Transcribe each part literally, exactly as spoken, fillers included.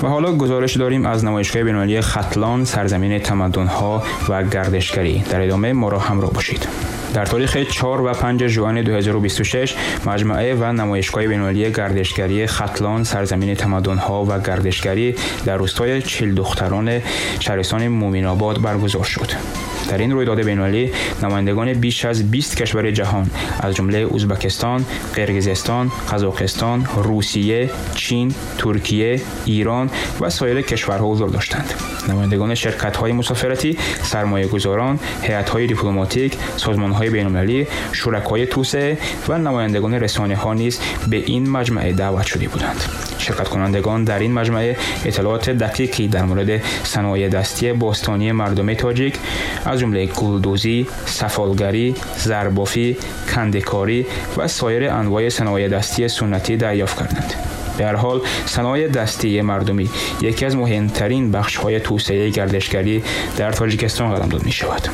و حالا گزارش داریم از نمایشگاه بین‌المللی ختلان، سرزمین تمدن‌ها و گردشگری. در ادامه ما را همراه باشید. در تاریخ چهار و پنج ژوئن دو هزار و بیست و شش مجموعه و نمایشگاه بین‌المللی گردشگری ختلان، سرزمین تمدن‌ها و گردشگری در روستای چهل دختران شهرستان مومین‌آباد برگزار شد. در این رویداد بین‌المللی نمایندگان بیش از بیست کشور جهان از جمله ازبکستان، قرقیزستان، قزاقستان، روسیه، چین، ترکیه، ایران و سایر کشورها حضور داشتند. نمایندگان شرکت‌های مسافرتی، سرمایه‌گذاران، هیئت‌های دیپلماتیک، سازمان‌های بین‌المللی، شرکای توسعه و نمایندگان رسانه‌ها نیز به این مجمعه دعوت شده بودند. شرکت کنندگان در این مجمعه اطلاعات دقیقی در مورد صنایع دستی باستانی مردم تاجیک از جمله گلدوزی، سفالگری، زربافی، کنده‌کاری و سایر انواع صنایع دستی سنتی دریافت کردند. به هر حال صنایع دستی مردمی یکی از مهمترین بخش‌های توسعه گردشگری در تاجیکستان قلمداد می‌شود.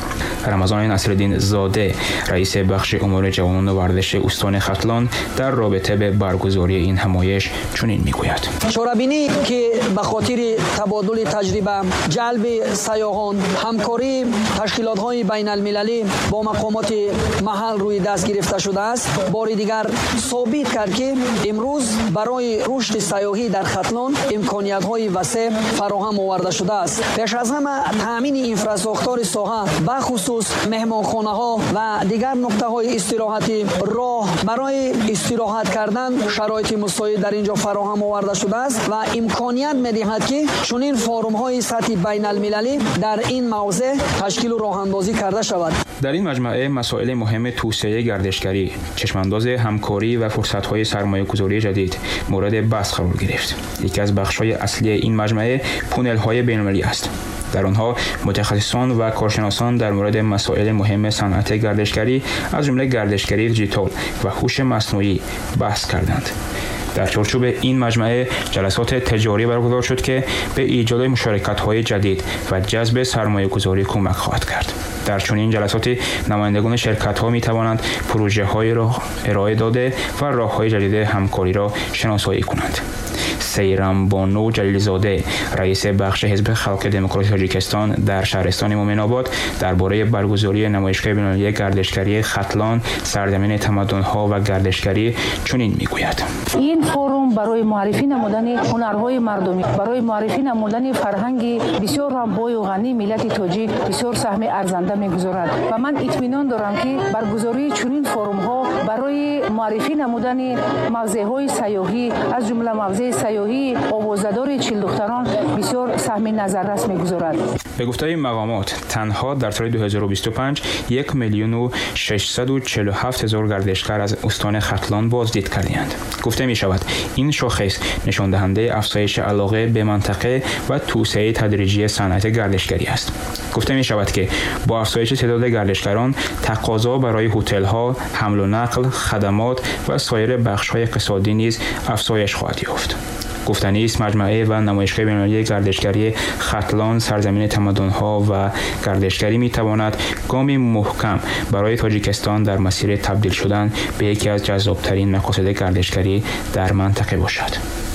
رمضان نصرالدین زاده، رئیس بخش امور جوانان و ورزش استان ختلان، در رابطه به برگزاری این همایش چنین می‌گوید: چорабинӣ ки ба хотири табодули таҷриба, ҷалби сайёҳон, ҳамкории ташкилотҳои байналмилалӣ бо мақомоти маҳал рӯи даст гирифта шудааст, бори дигар собит кард, ки имрӯз барои рушди сайёҳӣ дар Хатлон имкониятҳои васеъ фароҳам оварда шудааст. Пеш аз ҳама таъмини инфрасохтори соҳа, бахусус меҳмонхонаҳо ва дигар нуқтаҳои истироҳатӣ, роҳ барои истироҳат кардан шароити мусоид дар инҷо фароҳам оварда шудааст ва имконият медиҳад, ки чунин форумҳои сатҳи байналмилалӣ дар ин мавзеъ ташкилу роҳандозӣ карда шавад. در این مجمعه مسائل مهم توسعه گردشگری، چشم‌انداز همکاری و فرصت‌های سرمایه‌گذاری جدید مورد بحث قرار گرفت. یکی از بخش‌های اصلی این مجمعه پونل‌های بین‌المللی است. در آنها متخصصان و کارشناسان در مورد مسائل مهم صنعت گردشگری از جمله گردشگری دیجیتال و هوش مصنوعی بحث کردند. در چارچوب این مجمعه جلسات تجاری برگزار شد که به ایجاد مشارکت‌های جدید و جذب سرمایه‌گذاری کمک خواهد کرد. در چنین جلساتی نمایندگان شرکت‌ها می‌توانند پروژه‌هایی را ارائه داده و راه‌های جدید همکاری را شناسایی کنند. سیرم بانو جلیلزاده، رئیس بخش حزب خلق دموکراتیک تاجیکستان در شهرستان مومن‌آباد، درباره برگزاری نمایشگاه بین‌المللی گردشگری ختلان، سرزمین تمدن‌ها و گردشگری چنین می‌گوید: این فروم برای معرفی نمودن هنرهای مردمی، برای معرفی نمودن فرهنگ بسیار هم بای و غنی ملت تاجیک بسیار سهم ارزنده می‌گذارد و من اطمینان دارم که برگزاری چنین فروم‌ها برای معرفی نمودن موضع‌های سیاحی از جمله موضع سیاحی آوازدار چهل دختران بسیار سهم نظررس می‌گذارد. به گفته مقامات تنها در سال دو هزار و بیست و پنج یک میلیون و ششصد و چهل و هفت هزار گردشگر از استان ختلان بازدید کردند. گفته می شود این شاخص نشان دهنده افزایش علاقه به منطقه و توسعه تدریجی صنعت گردشگری است. گفته می شود که با افزایش تعداد گردشگران تقاضا برای هتل‌ها، حمل و نقل، خدمات و سایر بخش‌های اقتصادی نیز افزایش خواهد یافت. گفتنی است مجمعه و نمایشگاه بین‌المللی گردشگری ختلان، سرزمین تمدن‌ها و گردشگری می‌تواند گامی محکم برای تاجیکستان در مسیر تبدیل شدن به یکی از جذاب‌ترین مقاصد گردشگری در منطقه باشد.